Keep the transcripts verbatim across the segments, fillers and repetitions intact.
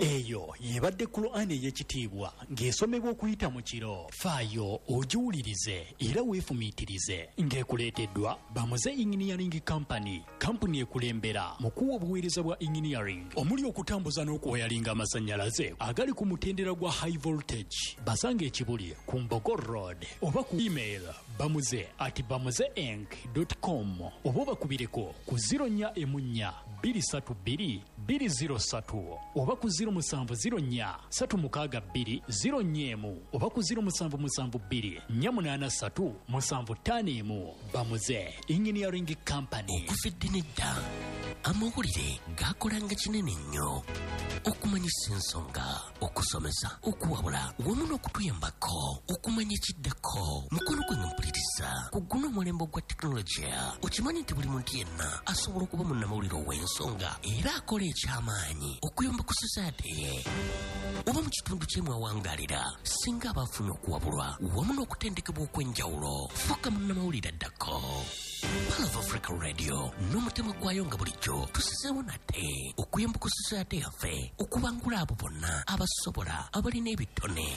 Eyo yebadde Qur'an ey'ekitiibwa ng'esomebwa okuyita mu kiro. Faayo ogiwulirize era weefumiitirize. Ng'ekuleeteddwa Bamuze Engineering Company, kampuni ekulembera mu kuwa obuweereza bwa engineering omuli okutambuza n'okuwayalinga amasannyalaze agali ku mutendera gwa high voltage. Basanga ekibuli ku Mbogo Road oba ku email bamuze at bamuze inc dot com oba obakubireko ku zero nnya emu nnya bbiri ssatu bbiri bbiri zero ssatu oba ku zero musanvu zero nnya ssatu mukaaga bbiri zero nnya emu oba ku zero musanvu musanvu bbiri nnya munaana ssatu musanvu ttaano emu. Bamuze Engineering Company. Okuva edda n'edda amawulire gakolanga kinene nnyo okumanyisa ensonga, okusomesa, okuwabula wamu n'okutuyambako okumanya ekiddako. Mukono gwange mpuliriza ku guno omulembe ogwa tekinologiya, okimanyi nti buli muntu yenna asobola okuba munnamawulire ow'ensonga era akola ekyamaanyi okuyamba ku society ye oba mu kitundu kye mwawangalira. Singa aba afunye okuwabulwa wamu n'okutendekebwa okw'enjawulo, fuuka munnamawulire addako. Pearl of Africa Radio n'omutima gwayo nga bulijjo tusizeewo nate okuyamba ku society yaffe okubangula abo bonna abasobola, abalina ebitone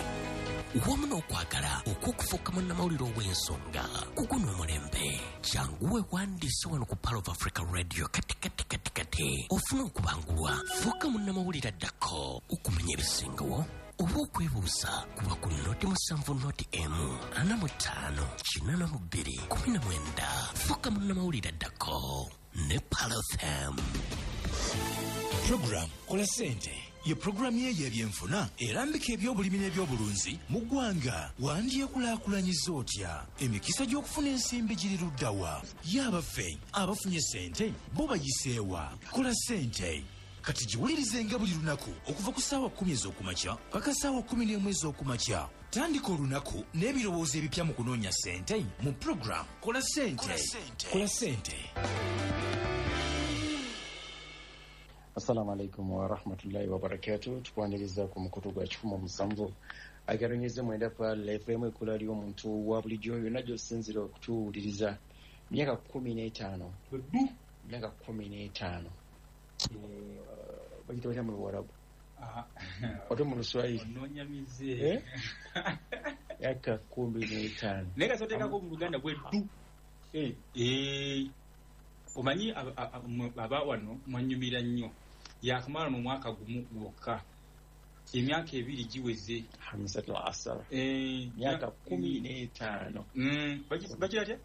wamu n'okwagala okw'okufuuka munnamawulire ow'ensonga ku guno omulembe. Jangu weewandiise wano ku Pearl of Africa Radio kati kati kati kati ofune okubangulwa, fuuka munnamawulire addako okumanya ebisingawo oba okwebuuza kuba ku noti musanvu noti emu ana mu ttaano kinaana mu bbiri kumi na mwenda. Fuuka munnamawulire addako ne Pearl F M. Program Kola Ssente ye programu ye y'ebyenfuna erambika ebyobulimi n'ebyobulunzi mu ggwanga. Wandyekulaakulanyiza otya? Emikisa gy'okufuna ensimbi giri ludda wa? Ye abaffe abafunye ssente bo bayiseewa? Kola Ssente kati giwulirizenga buli lunaku okuva ku ssaawa kkumi ez'okumakya paka ssaawa kkumi n'emu ez'okumakya. Tandika olunaku n'ebirowoozo ebipya mu kunoonya ssente mu program Kola Ssente. Kola Ssente. Assalamu alaikum wa rahmatullahi wa barakatuh. Tukwaniriza ku mukutu gwa kikumi musanvu agaronyeze mwenda Pearl F M ekula ly'omuntu wa bulijjo yonna gy'osinziira okutuwuliriza. Myaka kkumi n'etaano, myaka kkumi n'etaano bagita batya mu Luwarabu ote mu Luswahili? Onoonyamize. Myaka kkumi n'etaano naye kasoteekako mu Luganda bweddu. Omanyi aba wano mwanyumira nnyo, yakamala mu mwaka gumu gwokka, emyaka ebiri giweze. Hamsatul asara, myaka kkumi n'etaano. Bakira tya?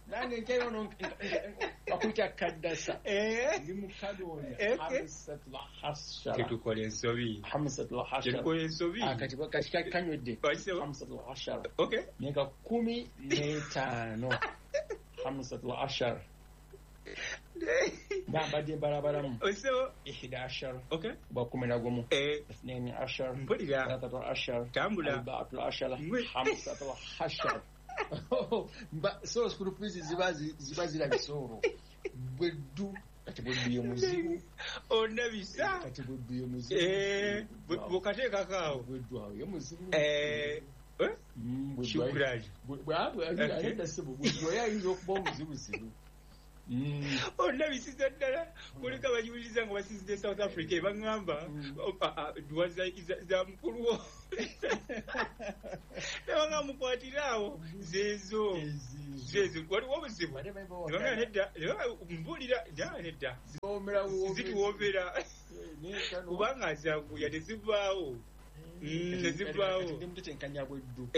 Nange nkyayo bakuyita kaddasa, ndi mukadoonya. Hamsatul ashara, tetukola ensobi, hamsatul ashara, tetukola ensobi. Kati kati kanywedde hamsatul ashara, myaka kkumi n'etaano. Hamsatul ashara nambadde mbalabalamu ihida ashara bwa kumi na gumu, ithnaini ashara, thalathatu ashara, arbaatul ashara, hamsatul ashara. So school fees ziba ziba zirabisa olwo bweddu. Kati bweddu ye muzibu ondabisa, kati bweddu ye muzibu bw'okateekako awo bweddu awo ye muzibu. Shukrani. Bweddu ayinza okuba omuzibuzibu. Ondabisiza ddala. Kuliko abagiwuliriza nga basinzidde South Africa ebaŋŋamba dduwa za mukulu wo nebanga mukwatire awo zeezo zeezo waliwo obuzibu nebanga nedda mbuulira nedda zituwoomera kubanga azanguya tezivaawo tezivaawo. Mutetenkanya bweddu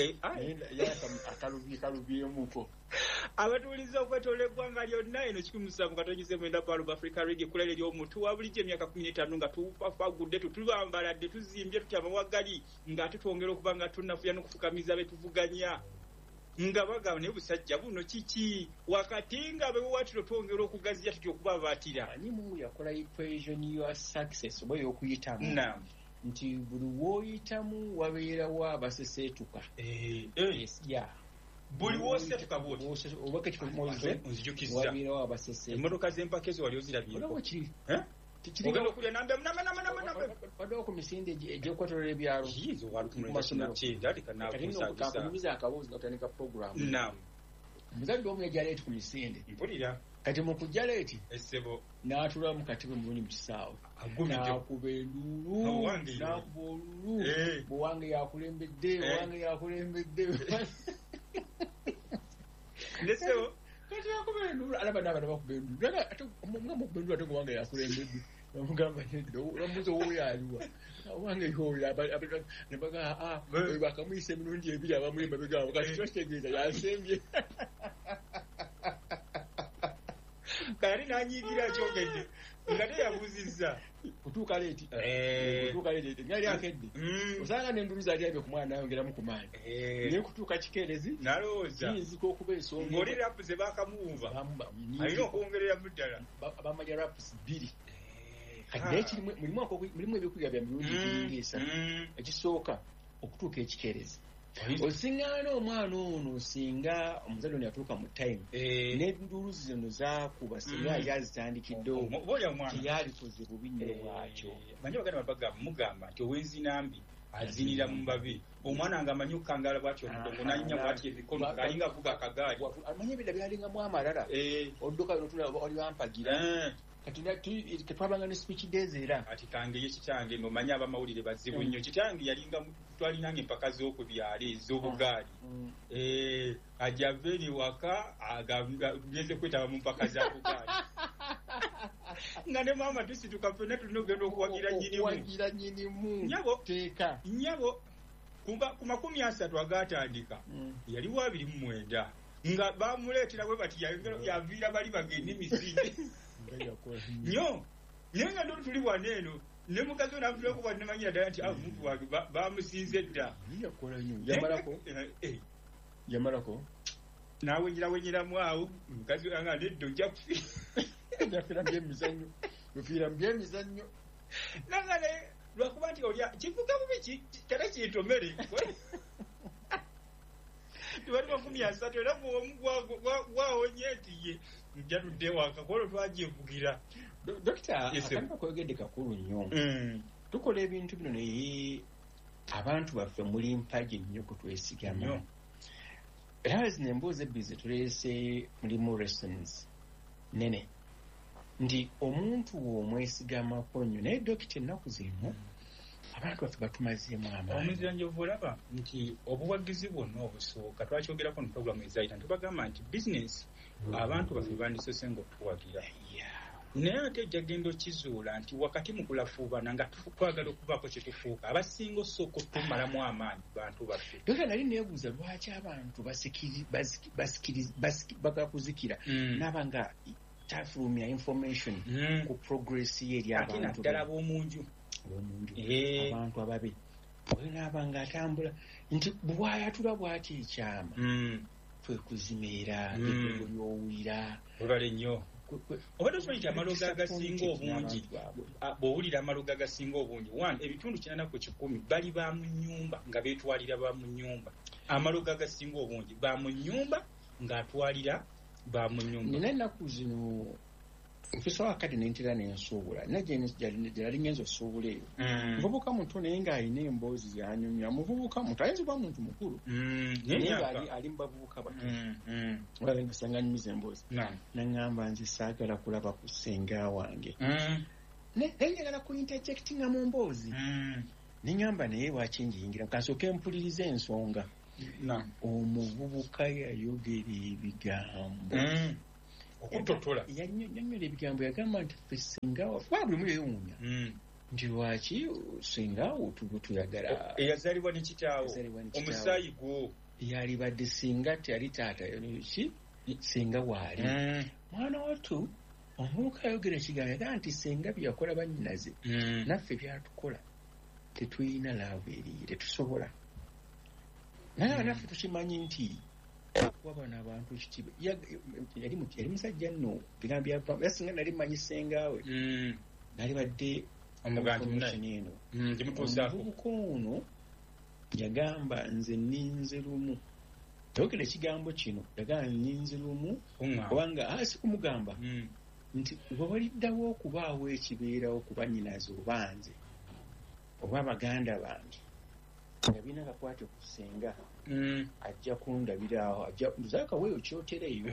akalubyemuko. Abatuuliza okwetoola eggwanga lyonna eno kikumi musanvu katonyeze mwenda Pearl of Africa Radio ekkula ery'omuntu wa bulijjo emyaka kkumi n'etaano nga tufafagudde tutubambaladde tuzimbye tutya amawagali ng'ate twongera okuba nga tunnafuya n'okufukamiza be tuvuganya nga bagamba naye busajja buno kiki wakati nga bewaatiro twongera okugaziya tutya okubabaatira. Ani Mungu yakola equation ya success oba ey'okuyitamu nti buli w'oyitamu wabeerawo abaseseetuka. Buli w'osetuka bw'oti nzijukizza emmotoka z'empaka ezo wali ozirabyeko. Ogenda okulya nambe namba namba namba namba waddewo ku misinde egy'okwetooloola ebyalo ku masomero. Kakunyumiza akaboozi nga tutandika puroguramu. Omuzadde omu yajja aleeti ku misinde mpulira Kati mu kujja leeti essebo n'atula mu katebe mulungi mu kisaawe n'akuba enduulu n'akuba olulu bwewange yakulembedde wange yakulembedde nesebo kati akuba enduulu alaba n'abaana bakuba enduulu ate nga mukuba enduulu ate wange yakulembedde bamugamba nedda bamubuuza owooyo aliwa wange yoyo nebaga bakamuyisa emirundi ebiri abamuli emabega abo kati twakitegeeza yasembye kali nanyiigira akyogedde nga teyabuuzizza kutuuka leeti kutuuka leeti nga yali akedde osanga n'enduulu zaali abye ku mwana nayongeramu ku maanyi naye kutuuka kikeerezi nalowooza kiyinzika okuba ensonga ng'oli rapu ze baakamuwumva alina okwongereramu ddala bamanya rapusi bbiri. Kati naye mulimu ebyokuyiga bya mirundi egiringa esatu. Ekisooka okutuuka ekikeerezi osiŋŋaana omwana ono singa omuzadde ono yatuuka mu time n'enduulu zino zaakuba singa yali azitandikiddewo teyalikoze bubi nnyo bwakyo. Manyi baganda babaga mugamba nti ow'enzinambi azinira mu mbabi omwana nga amanyi okukangala bw'atyo omugongo n'anyinya bw'atyo emikono ng'alinga avuga akagaali amanyi ebida byalingamu amalala odduka notula oli bampagira kati twabanga ne speech days era ati kange ye kitange ng'omanyi abamawulire bazibu nnyo kitange yalinga twalinanga empaka z'oku byalo ez'obugaali ajja ava eri waka ageze kwetaba mu mpaka za bugaali nga ne maama tusituka ffenna tulina okugenda okuwagira nnyinimu okuwagira nnyinimu nnyabo teeka nnyabo ku makumi asatu agaatandika yaliwo abiri mu mwenda nga bamuleetera bwe bati yaviira bali bagende emisinde nnyo naye nga ndoli tuli wano eno ne mukazi we n'amutunulako bw'ati namanyira ddala nti omuntu wange bamusinze dda. Yakola nnyo yamalako yamalako n'awenyerawenyeramu awo mukazi we nga nedda ojja kufiira ojafiira mu byemizannyo ofiira mu byemizannyo nanga naye lwakuba nti olya kivuga bubi kale kintomere tebali makumi asatu era gwomu gwawonye nti ye nja tudde waka kwolwo twagyevugira. Dokita akantu akoyogedde kakulu nnyo. Tukola ebintu bino naye abantu baffe muli mpagi nnyo kutwesigama era zino emboozi ebbiri ze tuleese mulimu lessons nene nti omuntu w'omwesigamako nnyo naye dokita ennaku zino abantu baffe batumazeemu amaanyi. Omuzira olaba nti obuwagizi bwonna obusooka twakyogerako mu puroguramu ezayita ntubagamba nti bizinesi abantu baffe bandisoose ng'otuwagira naye ate ojja genda okizuula nti wakati mu kulafuubana nga twagala okubaako kye tufuuka abasinga osooka otumalamu amaanyi bantu baffe. Dokita nali neebuuza lwaki abantu bagala kuzikira naaba nga tafulumya information ku progress ye eri ate abantu naddala ab'omunju ab'omunju abantu ababe oyo naaba nga atambula nti bwayatula bw'ati ekyama kwe kuzimeera ekwego ly'owulira webale nnyo. Obadde okimanyi nti amalogo agasinga obungi bw'owulira amalogo agasinga obungi one ebitundu kinaana ku kikumi bali ba mu nnyumba nga beetwalira ba mu nnyumba amalogo agasinga obungi ba mu nnyumba ng'atwalira ba mu nnyumba. Nina ennaku zino nfisa wakati nentera nensuubula nina gye nali ngenza osuubula eyo muvubuka muto naye ng'alina emboozi yanyumya muvubuka muto ayinza okuba muntu mukulu naye nga ali mu bavubuka bato olaba nga sanga anyumiza emboozi naŋŋamba nze saagala kulaba ku ssenga wange naye njagala ku interjectinga mu mboozi neŋŋamba naye lwaki njiyingira kansooke mpulirize ensonga. Omuvubuka yayogera ebigambo okutotola yannyonnyola ebigambo yagamba nti ffe ssenga waffe buli omu yeewuunya nti lwaki ssenga tuyagala eyazaalibwa ne kitaawo omusaayi gwo yalibadde singa teyali taata ki ssenga waali mwana wattu omuvubuka ayogera ekigambo yagamba nti ssenga bye yakola bannyinaze naffe byatukola tetulina laavu eriyo tetusobola naye naffe tukimanyi nti okuwa bano abantu ekitiibwa yali musajja nno bigambo byava yasinga nali mmanyi ssengaawe nalibadde information eno omuvubuka ono yagamba nze nninze lumu yayogera ekigambo kino yagamba nninze lumu kubanga si kumugamba nti we waliddawo okubaawo ekibeerawo ku bannyinaze oba nze oba baganda bange Nga birina akakwate ku ssenga ajja kundabiraawo, ajja zaakaweeyo kyotereeyo,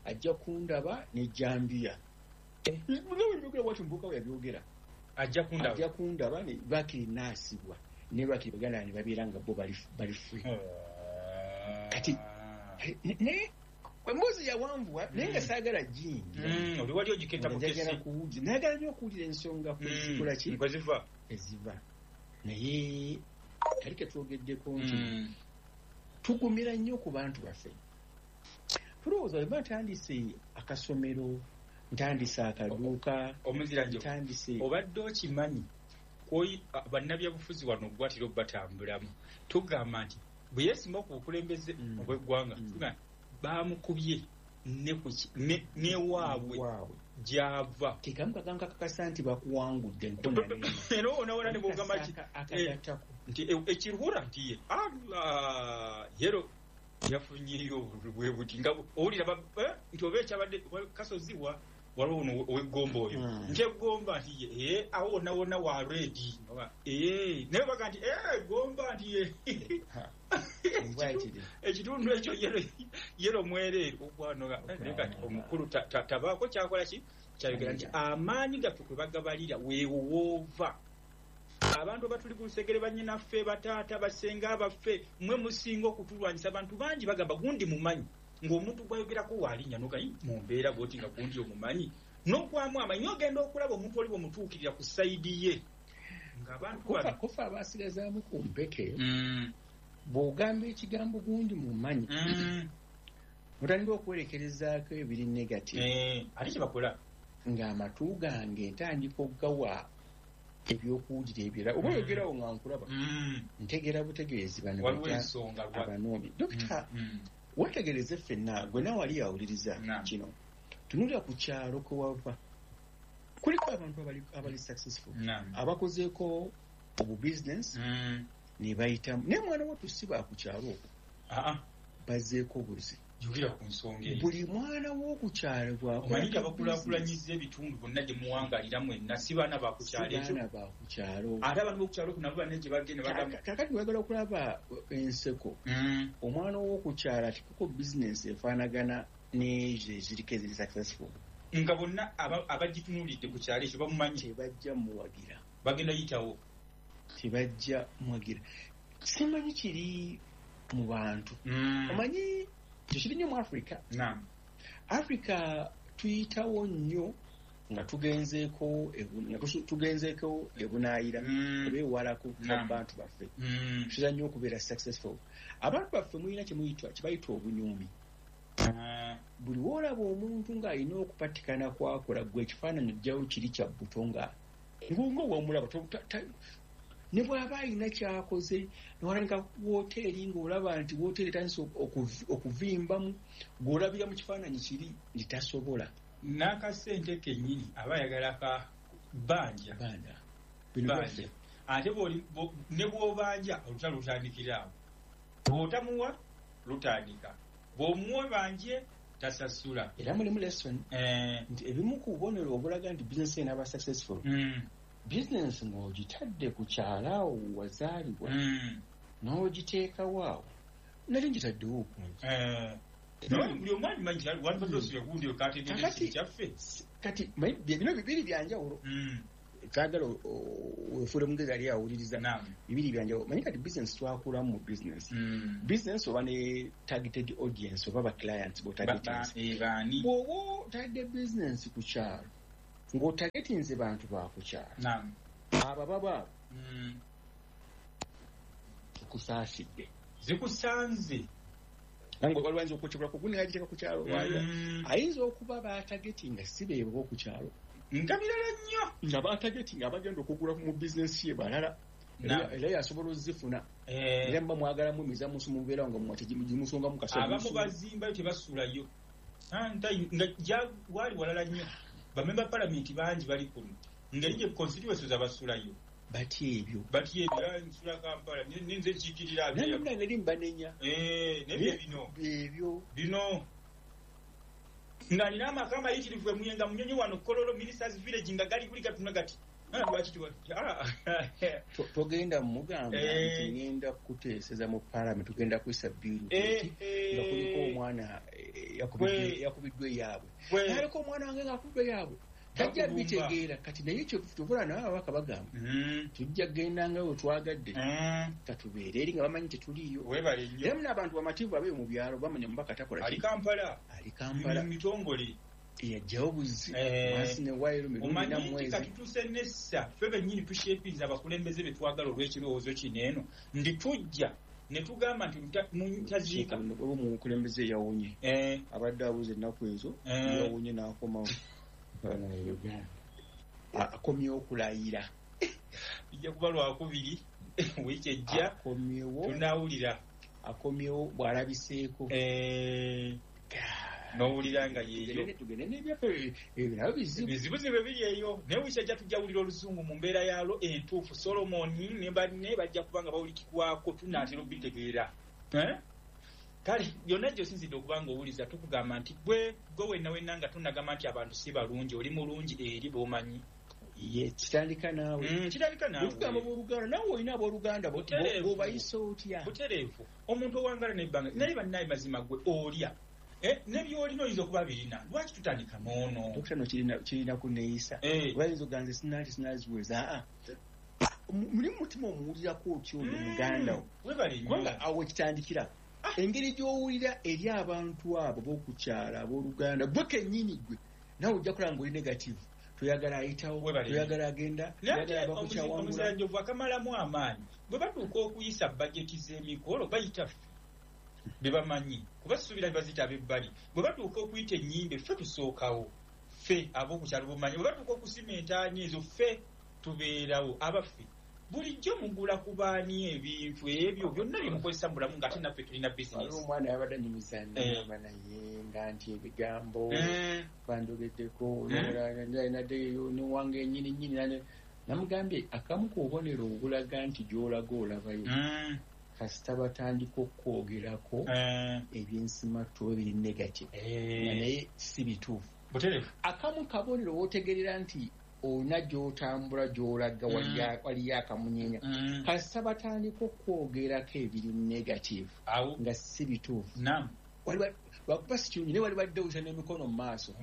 ajja kundaba ne jambiya. Nga bwati omuvubuka we yabyogera. Ajja kundaba, ajja kundaba ne bakiri naasibwa ne bakiri baganda ne babeera nga bo bali free. Kati naye emboozi yawanvuwa, naye nga saagala giyingira. Oli wali ogiketta. Njagala kuwulira, nayagala nnyo okuwulira ensonga kwezikola ki, kweziva, eziva. Naye kali ketwogeddeko nti tugumira nnyo ku bantu baffe. Tulowooza bwe ntandise akasomero, ntandise akaduuka, Omuziranjo, ntandise obadde okimanyi bannabyabufuzi wano ogwatira obatambulamu, tugamba nti bwe yeesimba ku bukulembeze obw'eggwanga, bamukubye newaabwe gyava. Kekamu kagambo kakakasa nti bakuwangudde. Era onawona ne bwogamba ki nti ekiruhura nti ye Allah yero yafunyeyo bwe buti, nga owulira nti oba ekyabadde kasozi wa waliwo ono ow'eggomba oyo nti eggomba nti ye awo wonna wonna wa reedi, naye baga nti eggomba nti ye ekitundu ekyo yero mwereere ogwano. Naye kati omukulu tabaako kyakola ki kyayogera nti amaanyi gaffe kwe bagabalira weewowoova abantu abatuli ku lusegere, bannyinaffe, bataata, basenga baffe, mwe musinga okutulwanyisa. Abantu bangi bagamba gundi mumanyi, ng'omuntu gwayogerako waalinnya nogayi mu mbeera bwoti nga gundi omumanyi n'okwamu amanyi, ogenda okulaba omuntu oli bwemutuukirira ku side ye ng'abantu kofa abasigazaamu ku mpeke. Bw'ogamba ekigambo gundi mumanyi, otandika okwerekerezaako ebiri negative. Ate kyebakola ng'amatu gange ntandika okugawa ebyokuwulira ebirala, oba oyogerawo nga nkulaba, ntegeera butegeezi bano abanoomi. Dokita, wetegereze ffenna, gwe nawe wali awuliriza kino, tunulira ku kyalo kwe wava, kuliko abantu abali successful, abakozeeko obubizinesi ne bayitamu, naye mwana wattu si ba ku kyalo okwo bazzeeko obuzi. Jukira ku nsonga eyo. Buli mwana w'okukyalo bwakola, omanyi abakulaakulanyiza ebitundu bonna gye muwangalira mwenna si baana bakukyalo ekyo, baana bakukyalo. Ate abantu b'okukyalo okwo nabo banne gye bagenda bagamba. Kakati wagala okulaba enseko, omwana w'okukyalo atikako bizinesi efaanagana n'ezo eziriko eziri successful, nga bonna abagitunuulidde ku kyalo ekyo bamumanyi, tebajja muwagira, bagenda yitawo, tebajja muwagira. Simanyi kiri mu bantu, omanyi tekiri nnyo mu Africa. Africa tuyitawo nnyo nga tugenzeeko tugenzeeko ebunaayira oba ewalako bantu baffe, tutera nnyo okubeera successful. Abantu baffe mulina kyebayita obunyoomi. Buli woolaba omuntu ng'alina okupatikana kwakola, gwe ekifaananyi ojjawo kiri kya buto nga nga wamulaba, ne bw'aba alina kyakoze newalanika woteeri ng'olaba nti woteeri etandise okuvimbamu, gw'olabira mu kifaananyi kiri nti tasobola. N'akasente kennyini aba ayagala ka bbanja, banja, ate ne bw'obanja olutalo lutandikira awo, bw'otamuwa lutandika, bw'omuwa banje tasasula. Era mulimu lesson nti ebimu ku bubonero obulaga nti bizinesi enaaba successful, bizinesi ng'ogitadde ku kyalo awo wazaalibwa n'ogiteekawo awo, nali ngitaddewo okungi. Kati bino bibiri byanjawulo, twagala wefuule mugezi ali awuliriza, bibiri byanjawulo. Manyi kati bizinesi twakulamu mu bizinesi, bizinesi oba ne targeted audience oba ba clients b'otargetinze. Bw'oba otadde bizinesi ku kyalo ng'otargetinze bantu ba ku kyalo, abo baba tukusaasidde, zikusanze. Nange waliwo ayinza okukyebula kugundi ng'agiteeka ku kyalo, ayinza okuba batargetinga si beebo ku kyalo, nga birala nnyo, nga batargetinga abagenda okugula mu bizinesi ye balala, era yasobola ozifuna. Era muba mwagalamu emiza musu mubeerawo nga mutegimusongamu kasobola. Abamu bazimbayo tebasulayo nga wali walala nnyo. Bamemba palamenti bangi bali kuno ngeri gye constituencies abasulayo batya ebyo, batya ebyo, nsula Kampala ninze nkiikirira nange nali mbanenya nebyo bino ebyo bino nga nina amaka amayitirivu emuyenga munyonyi wano Kololo Ministers Village nga gali kuli gatuna gati Togenda mugamba nti ngenda kuteeseza mu parliament, tugenda kuyisa bill nga kuliko omwana yakubiddwa eyaabwe, aliko omwana wange ng'akubiddwa eyaabwe, tajja bitegeera. Kati naye ekyo tukola nawe ababaka bagamba tujja kugenda nga we twagadde, katubeere eri nga bamanyi tetuliiyo. Era muna abantu bamativu abeeyo mu byalo bamanya omubaka takola ali Kampala, ali Kampala mitongole eyajjawo buzzi wansi ne wayiro mirundi na mwezi. Kati tutuuse nessa ffe bennyini tushepinza abakulembeze be twagala olw'ekirowoozo kino eno ndi tujja ne tugamba nti mutaziika. Oba omukulembeze yawonye abadde abuza ennaku ezo, yawonye n'akomawo akomyewo okulayira. Bijja kuba lwakubiri wiiki ejja akomyewo, tunaawulira akomyewo bw'alabiseeko n'owulira nga yeeyo. Tugende n'ebyaffe ebirabo bizibu bizibu biri eyo, naye wiiki ejja tujja wulira oluzungu mu mbeera yaalwo entuufu. Solomoni ne banne bajja kuba nga bawulikibwako, tunaatera obitegeera. Kale byonna gy'osinzidde okuba ng'owuliza tukugamba nti gwe gwe wenna wenna nga tunagamba nti abantu si balungi, oli mulungi eri b'omanyi. Ye kitandika naawe, kitandika naawe. Tugamba abooluganda, naawe olina abooluganda b'obayisa otya? Butereevu. Omuntu owangala n'ebbanga naye bannaye mazima gwe olya ne by'olina oyinza okuba birina, lwaki tutandika n'ono? Dokita no kirina kunneeyisa bayinza oganze sinati sinaziweza aa muli mutima omuwulirako otya oyo muganda wo, kubanga awo ekitandikira engeri gy'owulira eri abantu abo b'okukyala abooluganda gwe kennyini gwe nawe ojja kulaba ng'oli negative, toyagala ayitawo, toyagala agenda, toyagala bakukyawangula. Omuziranjovu akamalamu amaanyi bwe batuuka okuyisa bajeti z'emikolo bayita ffe bebamanyi kuba suubira baziyita ab'ebbali. Bwe batuuka okuyita ennyimbe ffe tusookawo, ffe ab'okukyalo bumanyi. Bwe batuuka okusima entaani ezo ffe tubeerawo. Abaffe bulijjo mugula ku baani ebintu ebyo byonna bye mukozesa mu bulamu ng'ate naffe tulina bizinesi. Omwana yabadde anyumiza nagamba naye nga nti ebigambo banjogeddeko naddeyo newange ennyini nnyini, namugambye akamu ku bubonero obulaga nti gy'olaga olabayo kasita batandika okwogerako ebyensimattu ebiri negative nga naye si bituufu. Akamu kabonero w'otegeerera nti olina gy'otambula gy'olaga waliyo akamunyenya, kasita batandika okwogerako ebiri negative nga si bituufu. Lwakuba si kirungi naye wali badde oyisa n'emikono mu maaso.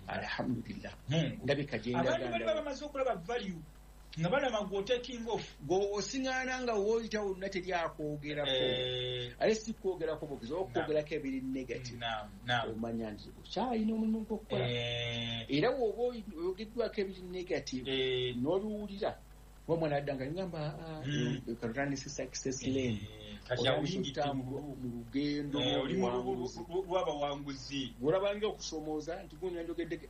Alhamdulillah, ndabika gye ndaga. Abantu bali bamaze okulaba value nga balaba gwe taking off, gwe osiŋŋaana nga w'oyita wonna teri akwogerako, ate si kwogerako bwogezi okwogerako ebiri negative, omanya nti okyalina omulimu gw'okukola. Era bw'oba oyogeddwako ebiri negative n'obiwulira oba omwana adda nga ngamba katutandise success lane, otandise mu lugendo lw'abawanguzi, olabanga okusoomooza nti gundi nanjogedde.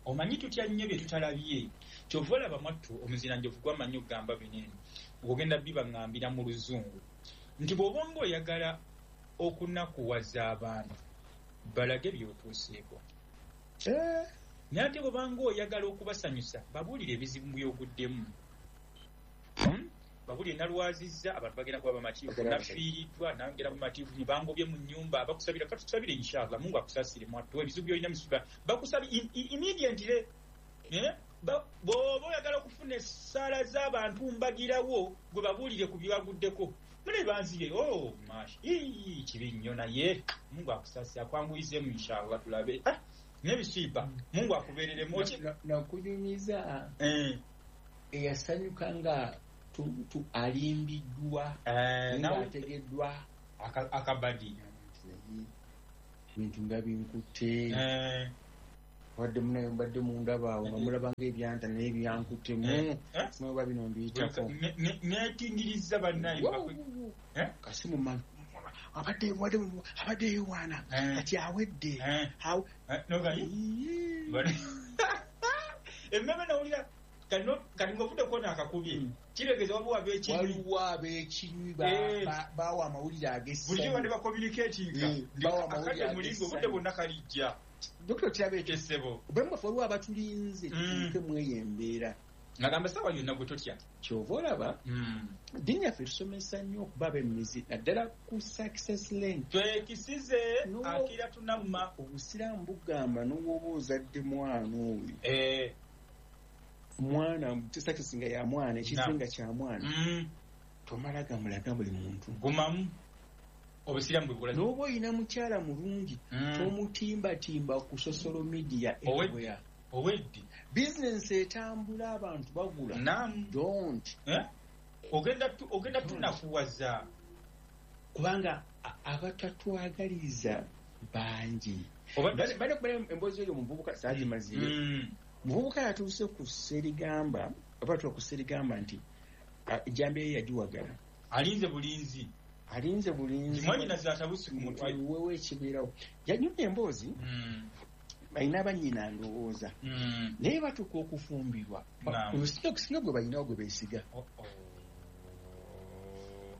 Omanyi tutya nnyo bye tutalabye. Kyova olaba mwattu omuziranjovu gwamanyi okugamba bino eno ogenda bibaŋŋambira mu luzungu nti bw'oba ng'oyagala okunakuwaza abantu balage by'otuuseeko, naye ate bw'oba ng'oyagala okubasanyusa babuulire ebizibu by'oguddemu, babuulire nalwazizza abantu bagenda kuba bamativu, nafiiriddwa nangera bamativu, bangobye mu nnyumba, bakusabira katusabire inshallah Mungu akusaasire mwattu ebizibu by'olina misiba bakusabire immediately. Bw'oba oyagala okufuna essaala z'abantu mbagirawo gwe babuulire ku byebaguddeko mune banzire oh mash ii kibi nnyo naye Mungu akusaasire akwanguyizeemu inshallah tulabe n'ebisiiba Mungu akubeereremu. Nakunyumiza eyasanyuka nga alimbiddwa ng'ategeddwa akabadi bintu nga binkutte wadde munaye mbadde mundaba awo nga mulaba ng'ebyanta naye byankuttemu simanyi oba bino mbiyitako neetingiriza bannaye kasi mumanyi abadde abadde yeewaana kati awedde emmeme nawulira kati ng'ovudde kuona akakubye kiregeeza waliwo ab'ekinywi waliwo ab'ekinywi bawa amawulire ag'essanyu bulijjo badde bakomuniketinga akadde mulingo obudde bwonna kalijja. Dokita kiraba ekyo essebo obulamu bwaffe waliwo abatulinze tutuuke mu eyo embeera ngagamba ssaawa yonna gwe totya. Kyova olaba ddiini yaffe tusomesa nnyo okuba ab'emizi naddala ku success lane twekisize akira tunamma obusiraamu bugamba n'owoba ozadde mwana oyo Mwana success nga ya mwana ekizinga kya mwana. Mm. Tomala gamulaga buli muntu. Gumamu obusiramu bwe bulaga. N'oba oyina mukyala mulungi mm. tomutimbatimba ku social media everywhere. Oweddi. Business etambula abantu bagula. Naam. Don't. Eh? Ogenda tu, ogenda tunafuwaza. Kubanga abatatwagaliza bangi. Bale kubale emboozi eyo muvubuka saagimazire. Mm. Muvubuka yatuuse ku Sserigamba, oba tuwa ku Sserigamba nti ejjambiya ye yagiwagala. Alinze bulinzi. Alinze bulinzi. Mwannyinaze atabuse ku mutwe. Wewe ekibeerawo. Yanyumya emboozi. Mm. Balina bannyina ndowooza. Mm. Naye batuuka okufumbirwa. Singa gwe balinawo gwe beesiga. Oh, oh.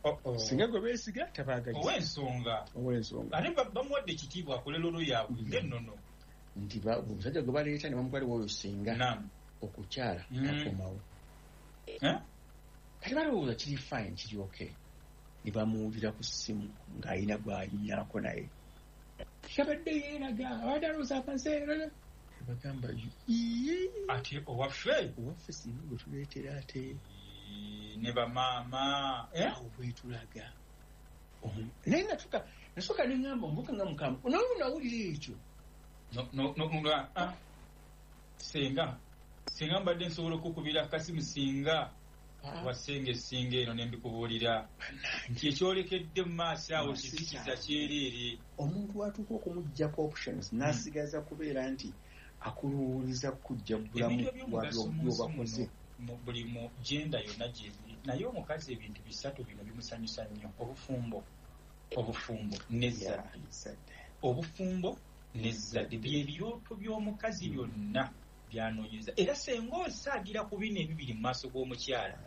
Oh, oh. Singa gwe beesiga tabaagaliza. Ow'ensonga. Ow'ensonga. Ate bamuwadde ekitiibwa akole lolo yaabwe ng'ennono. Nti omusajja gwe baleeta ne bamutwala oyo singa okukyala takomawo. Kati balowooza kiri fine, kiri okay. Ne bamuwulira ku ssimu ng'alina gw'anyumyako naye. Yabadde yeeraga, abadde alowooza amazeera. Bagamba ate owaffe owaffe singa gwe tuleetera ate ne bamaama awo bwetulaga. Naye natuka nasooka ne ŋŋamba omuvubuka nga mukambwe, naye nawulira ekyo. No, no, no, ah. Senga senga mbadde nsobola okukubira akasimu singa ah. Wasenga essinga eno ne mbikubuulira nti ekyolekedde mu maaso awo kizikiza kyereere. Omuntu watuuka okumuggyako options n'asigaza kubeera nti akuluwuliza kujja bulamu bw'obakoze buli mu genda yonna gyebiri. Naye omukazi ebintu bisatu bino bimusanyusa nnyo: obufumbo, obufumbo n'ezzadde, obufumbo n'ezzadde. Bye birooto by'omukazi byonna byanoonyeza. Era senga osaagira ku bino ebibiri mu maaso g'omukyala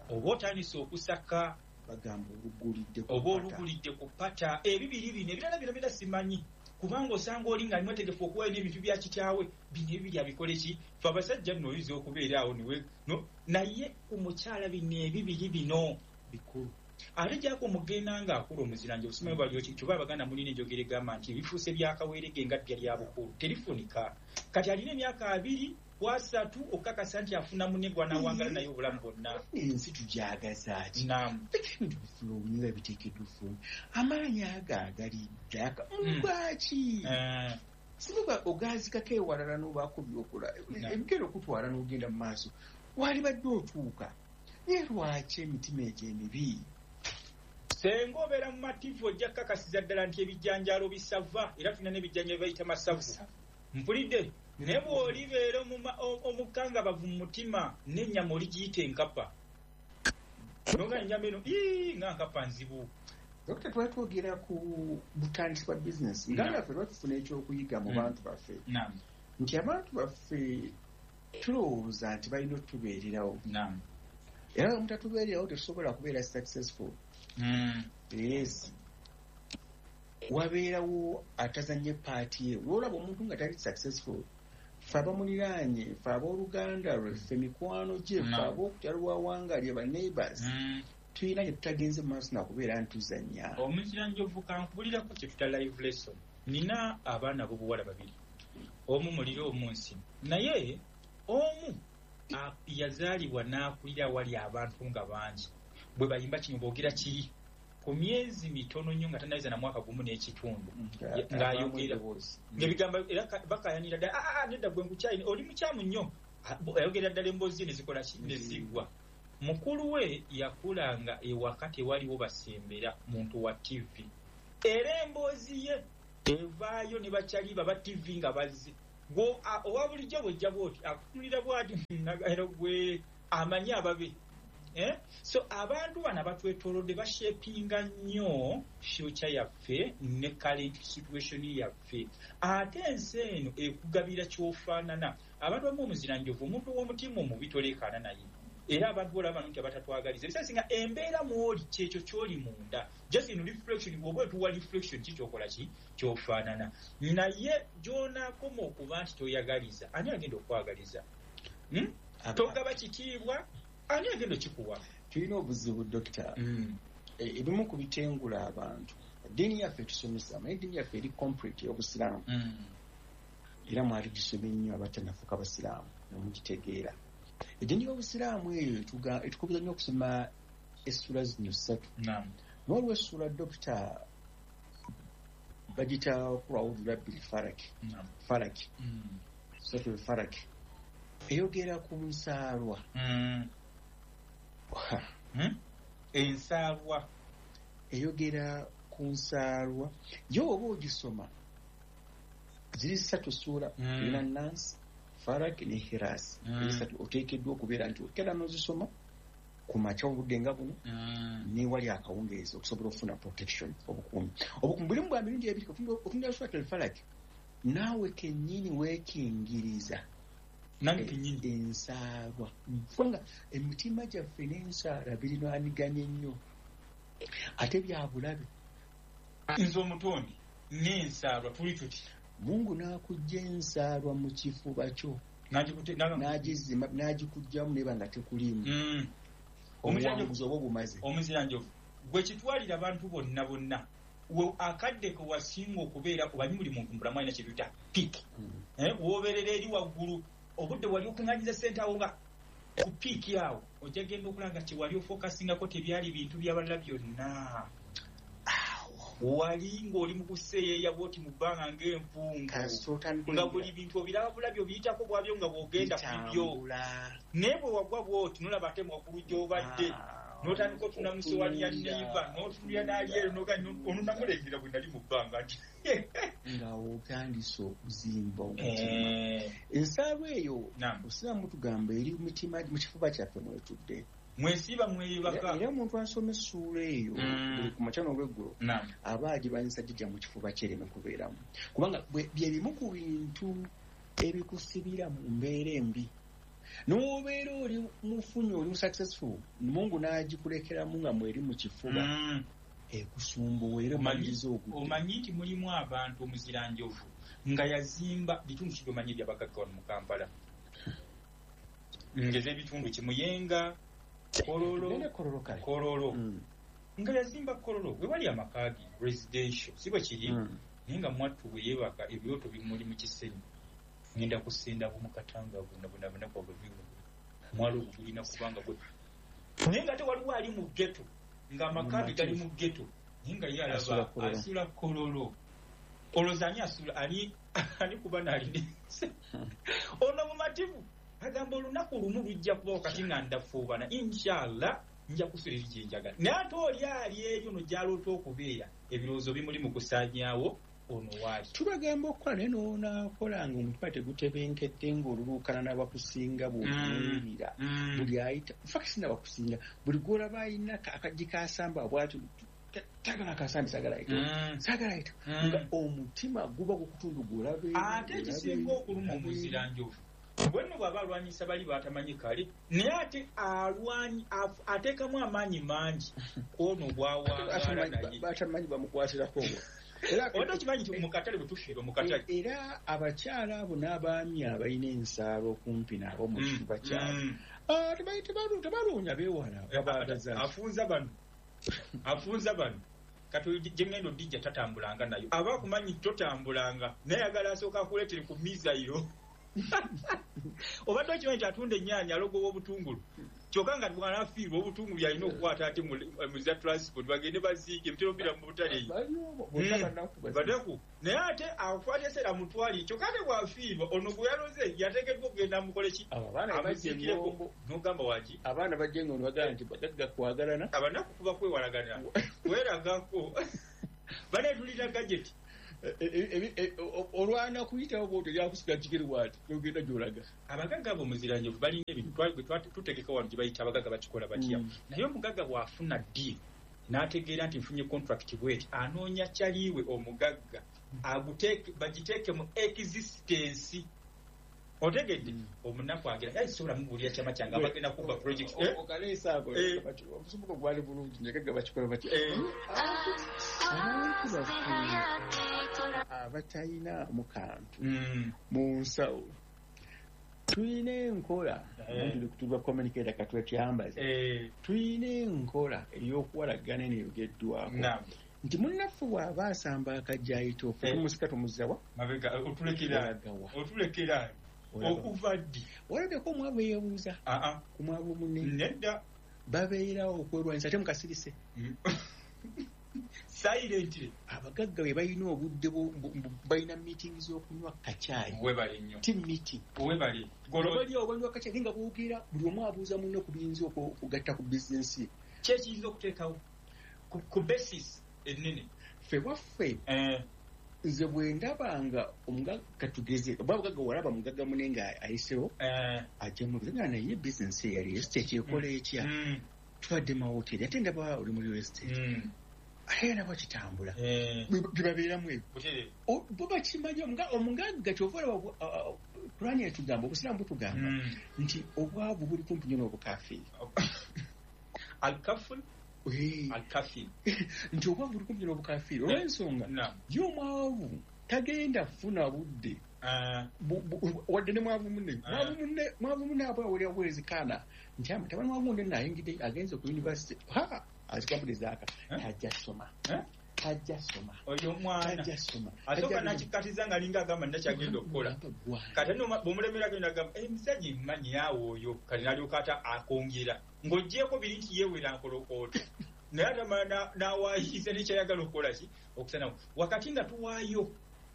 oba otandise okusaka, bagamba olugulidde oba olugulidde ku ppata. Ebibiri bino ebirala bino bira simanyi, kubanga osanga oli nga ali mwetegefu okuwaayo n'ebintu bya kitaawe. Bino ebibiri abikole ki? Fe abasajja nno oyinza okubeera awo niwe no, naye ku mukyala bino ebibiri bino bikulu. Ate gyako omugenda ng'akula omuziranje obusimanyi bwali kyova Abaganda mulina enjogera egamba nti ebifuuse byakaweerege nga ddya lya bukulu terifunika. Kati alina emyaka abiri ku asatu okukakasa nti afuna munne gw'anaawangala naye obulamu bwonna. Ensi tugyagaza ki? Naamu. Ebintu bifulumira biteekeddwa ofulumya. Amaanyi ago agali ddaka lwaki? Singa ogaazikako ewalala n'obaako by'okola, ebigenda okutwala n'ogenda mu maaso, walibadde otuuka. Naye lwaki emitima egyo emibi? Senga obeera mu mativu ojja kukakasiza ddala nti ebijanjaalo bisava, era tulina n'ebijanjaalo bayita masavu. Mpulidde? Naye bw'olibeera omukangabavu mu mutima n'ennyama oligiyita enkapa. Nonga ennyama eno ii nga nkapa nzibu. Dokita, twali twogera ku butandisi bwa bizinesi. Nga naffe lwatufuna ekyokuyiga mu bantu baffe. Nti abantu baffe tulowooza nti balina otubeererawo. Era nga mutatubeererawo tetusobola kubeera successful. Mm. Yes. Wabeerawo atazannye paati ye. Lw'olaba omuntu nga tali successful, ffe abamuliraanye, ffe abooluganda lwe, ffe mikwano gye, ffe ab'okukyalo lw'awangalye, ba neighbors, tulina gye tutagenze mu maaso nakubeera ntuzannya. Omuziranjovu kankubulirako kye tuta live lesson. Nina abaana ab'obuwala babiri, omu muliro omu nsi. Naye omu yazaalibwa n'akulira awali abantu nga bangi. Bwe bayimba kino boogera kiri ku myezi mitono nnyo nga tannaweza na mwaka gumu n'ekitundu ng'ayogera ng'ebigambo era bakaayanira ddala, aa nedda gwe nkukyayi oli mukyamu nnyo. Ayogera ddala emboozi ne zikola ki? Ne ziggwa. Mukulu we yakulanga ewaka tewaliwo basembera muntu wa T V, era emboozi ye evaayo ne bakyali baba T V nga bazze. Gwe owa bulijjo bw'ojja bw'oti akutunulira bw'ati era gwe amanyi ababe. Eh? So abantu bano abatwetoolodde bashapinga nnyo future yaffe ne current situation yaffe. Ate ensi eno ekugabira ky'ofaanana. Abantu abamu omuziranjovu, omuntu ow'omutima omubi toleekaana naye. Era abantu bolaba nti abatatwagaliza. Ebiseera singa embeera mw'oli kyekyo ky'oli munda. Just in reflection, bw'oba otuwa reflection ki ky'okola ki ky'ofaanana. Naye gy'onaakoma okuba nti toyagaliza, ani agenda okwagaliza? Hmm? Togaba kitiibwa, ani agenda okikuwa? Tulina obuzibu dokita. Ebimu ku bitengula abantu. Eddiini yaffe etusomesa, naye eddiini yaffe eri complete ey'obusiraamu. Era mwali gisomye nnyo abatanafuuka basiraamu ne mugitegeera. Eddiini y'Obusiraamu eyo etukubiriza nnyo okusoma essula zino ssatu. Waliwo essula Dokita bagita Qul a'udhu birabbil falaq, falaq, suratul falaq, eyogera ku nsaalwa. Ensaalwa eyogera ku nsaalwa yo oba ogisoma ziri ssatu ssuula erina Nansi, Falaq ne Hirasi. Esatu oteekeddwa okubeera nti okera n'ozisoma ku makya obudde nga buno newali akawungeezi okusobola okufuna protection, obukuumi. Obukuumi bulimu bwa mirundi ebiri. Otunula Suratul Falaq naawe kennyini weekingiriza ensaalwa, kubanga emitima gyaffe n'ensaala birinwaniganye nnyo ate bya bulabe. Nze omutondi n'ensaalwa tuli tuti Mungu n'akujja ensaalwa mu kifuba kyo n'agizima n'agikuggyamu neba nga tekuliimu. Omuwanguzi oba obumaze. Omuziranjovu gwe kitwalira abantu bonna bonna akadde ke wasinga okubeera obanyi buli muntu mulamu alina kye tuyita piik, w'obeerera eri waggulu obudde wali okuŋŋanyiza ssente awo nga ku piiki awo ojja genda okulanga kye wali ofokasingako tebyali bintu byabalala byonna. Wali ng'oli mu kuseeyeeya bw'oti mu bbanga ng'empungu nga buli bintu obiraba bulabyo obiyitako bwabyo nga bw'ogenda ku bibyo, naye bwe wagwa bw'oti n'olaba ate waggulu gy'obadde n'otandika otunda mu ssowaani ya neighbor n'otunulira n'ali ero ono namulengera bwe nali mu bbanga nti nga otandise okuzimba omutima. Ensaalwa eyo Obusiraamu tugamba eri mutima mu kifuba kyaffe mwetudde mwesiba mweyebaka. Era omuntu asoma essuula eyo buli ku makya n'olweggulo aba agirwanyisa gijja mu kifuba kye ereme kubeeramu, kubanga bye bimu ku bintu ebikusibira mu mbeera embi. N'obeera oli mufunyi oli successful, Mungu n'agikulekeramu nga mweri mu kifuba ekusumbuwa era omaliriza ogudde. Omanyi nti mulimu abantu omuziranjovu nga yazimba bitundu ki byomanyi ebyabagagga wano mu Kampala, ngeza ebitundu Kimuyenga, Kololo, Kololo nga yazimba Kololo we wali amaka ge residential, si bwe kiri? Naye nga mwattu bwe yeebaka ebyoto bimuli mu kisenyi ngenda kusenda bumukatanga buna buna buna kwa bwe mwalo gulina kubanga gwe, naye nga ate waliwo ali mu ghetto nga amaka ge gali mu ghetto naye nga ye alaba asula Kololo. Olowooza ani asula ani ani kuba n'alina ono mumativu agamba olunaku lumu lujja kubawo kati nga ndafuubana inshallah nja kusula eri gye njagala, naye ate oli ali eri ono gy'aloota okubeera ebirowoozo bimuli mu kusaanyaawo ono waali. Tubagamba okukola naye n'onaakola nga omutima tegutebenkedde ng'oluluukana n'abakusinga bw'otunuulira buli ayita infact sinabakusinga buli gw'olaba ayina akaggi k'asamba bw'atyo tagala akasambi saagala ayita saagala ayita nga omutima guba gukutundu gw'olaba. Ate ekisinga okuluma omuziranjovu bwenno bw'aba alwanyisa bali batamanyi kale, naye ate alwanyi ateekamu amaanyi mangi kwono bw'awangaala naye batamanyi bamukwatirako. Era okimanyi nti mu katale bwe tufiirwa mu katale, era abakyala abo n'abaami abalina ensaalo okumpi nabo mu kifuba kyabwe tebaloonya beewala. Afunza bano afunza bano kati gye ngenda odijja tatambulanga nayo aba akumanyi totambulanga naye ayagala asooka akuleetere ku mizayiro. Obadde okimanyi nti atunda ennyaanya alogowa obutungulu kyokka nga bw'anafiirwa obutungulu yalina okukwata ate mu za transport bagende baziike ebitero bira mu butale eyo banaku, naye ate akwata eseera amutwalire kyokka ate bw'afiirwa ono gwe yaloze yateekeddwa okugenda amukole ki amuziikireko n'ogamba waki abaana bajja nga ono bagamba nti bagagga kwagalana abanaku kuba kwewalagana kweragako baneetulira gajeti olwana kuyitawo bw'otyo lyakusiga kigere bw'ati n'ogenda gy'olaga. Abagagga abo omuziranjovu balina ebintu tutegeka wano gye bayita abagagga bakikola batya, naye omugagga bw'afuna deal n'ategeera nti nfunye contract bw'eti anoonya kyaliwe omugagga bagiteeke mu existence. Otegedde omunaku agira yayi sobola mubuulira kyama kyange abagenda kubba project okaleesa ako omusumbuko gwali bulungi nyagagga bakikola batya. Abantu baffe abatalina mu kantu mu nsawo tulina enkola tuli communicator katwetyambaze tulina enkola ey'okuwalagana eneyogeddwako nti munnaffe bw'aba asamba akajja ayita ofe tumusika tumuzawa mabega otulekera otulekera Okuva ddi? Walabyeko omwavu yeebuuza ku mwavu munne? Nedda. Babeerawo okwerwanyisa ate mukasirise. Silently. Abagagga bwe balina obudde balina meeting z'okunywa kacaayi. Webale nnyo. Team meeting. Webale. Bali awo banywa kacaayi nga boogera, buli omu abuuza munne ku biyinza okugatta ku bizinensi ye. Ki ekiyinza okuteekawo ku basis ennene? Ffe waffe nze bwe ndabanga omugagga katugeze oba mugagga walaba mugagga munne nga ayisewo ajja mubuuza naye bizinensi ye ya real estate ekola etya? Tubadde mawoteri ate ndaba oli mu real estate. Ate ndaba kitambula. Bye babeeramu ebyo. Bo bakimanyi omugagga kyova olaba Kurani etugamba, Obusiraamu butugamba nti obwavu buli kumpi nnyo n'obukafiiri. Alkaful? Alkafir. Nti obwavu buli kumpi n'obukafiiri olw'ensonga ye omwavu tagenda kufuna budde wadde ne mwavu munne. Mwavu munne aba awulira bwezikaana nti mutabani wa munne nayingidde agenze ku university ha azikambudde zaaka tajja soma. Tajja soma. Oyo omwana tajja soma. Asooka n'akikatiza ng'alinga agamba nnakyagenda okukola. Kati nno bw'omulemera agenda agamba emisajja emmanyi awo oyo kati n'alyoka ate akwongera ng'oggyeeko biri nti yeewera nkolokooto naye atamala n'awaayiza nekyayagala okukola ki okusanawo. Wakati nga tuwaayo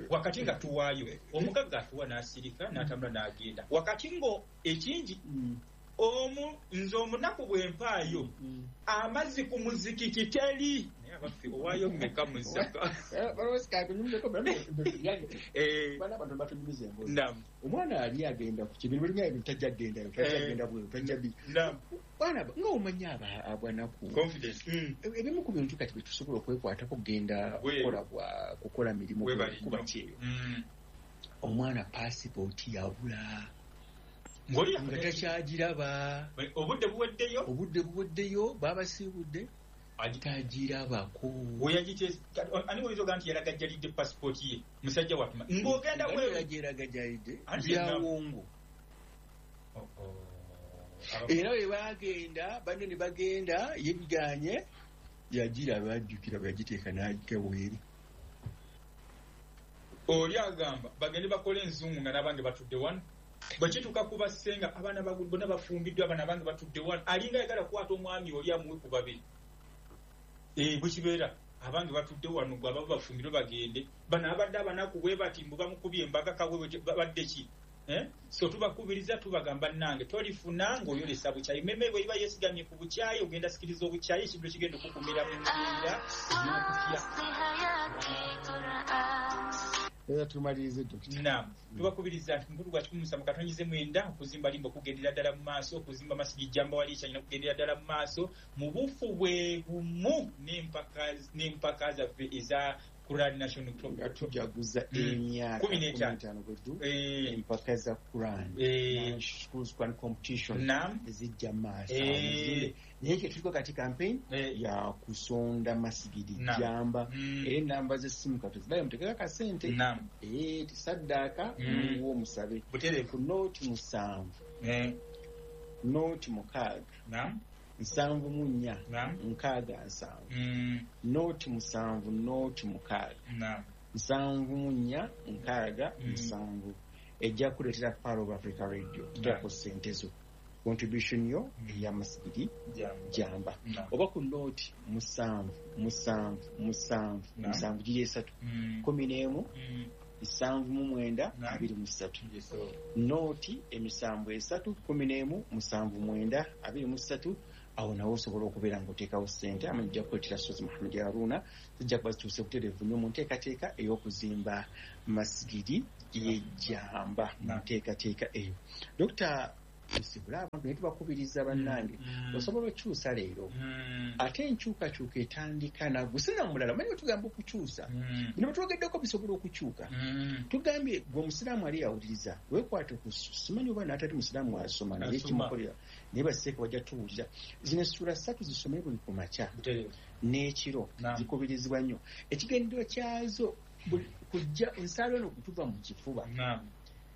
wakati nga tuwaayo omugagga atuwa n'asirika n'atambula n'agenda wakati ngo ekingi omu nze omunaku bwe mpaayo amazzi ku muzikiti teri naye abaffe owaayo mmeka mu zzaka. Omwana ali agenda ku kibintu biringa ebintu tajja kgendayo tajja kgenda bweru tajja bi baana nga omanyi abanaku ebimu ku bintu kati bye tusobola okwekwatako kugenda kukola kukola mirimu kuba kyeyo. Omwana paasipooti yabula nga takyagiraba obudde buweddeyo obudde buweddeyo babasiibudde tagirabako. Ani oyinza ogamba nti yalagajjalidde pasipooti ye musajja watuma ng'ogenda bweragajjalidde byawongo. Era bwe bagenda banne ne bagenda ye biganye yagiraba ajjukira bwe yagiteeka n'agika bweru. Oli agamba bagende bakole enzungu nga n'abange batudde wano. Bwe kituuka ku bassenga abaana bonna bafumbiddwa abaana bange batudde wano alinga ayagala kukwata omwami oli amuwe ku babiri. Eh bwe kibeera abange batudde wano gwe ababa bafumbirwe bagende bano abadde abanaku bwe bati mbu bamukubye embaga kabwe babadde ki? Eh? So tubakubiriza tubagamba nnange tolifuna ng'oyolesa bukyayi meme bwe iba yeesigamye ku bukyayi ogenda sikiriza obukyayi ekintu ekigenda okukumira mu mbeera ey'okutya. Era tumalirize Dokita. Naam, tubakubiriza nti mukulu gwa kikumi musanvu katonyize mwenda okuzimba limbo okugendera ddala mu maaso okuzimba masigi jjamba wali ekyanyina okugendera ddala mu maaso mu bufu bwe bumu n'empaka n'empaka zaffe eza Quran National Club nga tujaguza emyaka kumi n'etaano bweddu empaka za Quran Schools Quran Competition ezijja maaso naye kye tuliko kati campaign ya kusonda masigidi jamba era enamba z'essimu katuzibayo muteekeko akasente eh tisaddaaka muwe omusabe ku nooti musanvu nooti mukaaga nsanvu mu nnya nkaaga nsanvu nooti musanvu nooti mukaaga nsanvu mu nnya nkaaga nsanvu ejja kuleetera Power of Africa Radio kuteekako ssente zo contribution yo ey'amasigiri jamba oba ku nooti musanvu musanvu musanvu musanvu giri esatu kumi n'emu nsanvu mu mwenda abiri mu ssatu nooti emisanvu esatu kumi n'emu musanvu mwenda abiri mu ssatu awo nawe osobola okubeera ng'oteekawo ssente amanyi ojja kuleetera Sozi Muhammad Haruna zijja kuba zituuse butereevu nnyo mu nteekateeka ey'okuzimba masigiri y'ejjamba mu nteekateeka eyo. Dokita tusibule abantu naye tubakubiriza bannange osobola okyusa leero ate enkyukakyuka etandika nagwe sina mulala omanyi bwe tugamba okukyusa bino bwe twogeddeko bisobola okukyuka tugambye gwe omusiraamu ali yawuliriza weekwate ku simanyi oba n'atali musiraamu asoma naye kimukolera naye baseeka bajja tuwulira zino essuula ssatu zisome buli ku makya n'ekiro zikubirizibwa nnyo ekigendererwa kyazo kujja ensaalo eno kutuva mu kifuba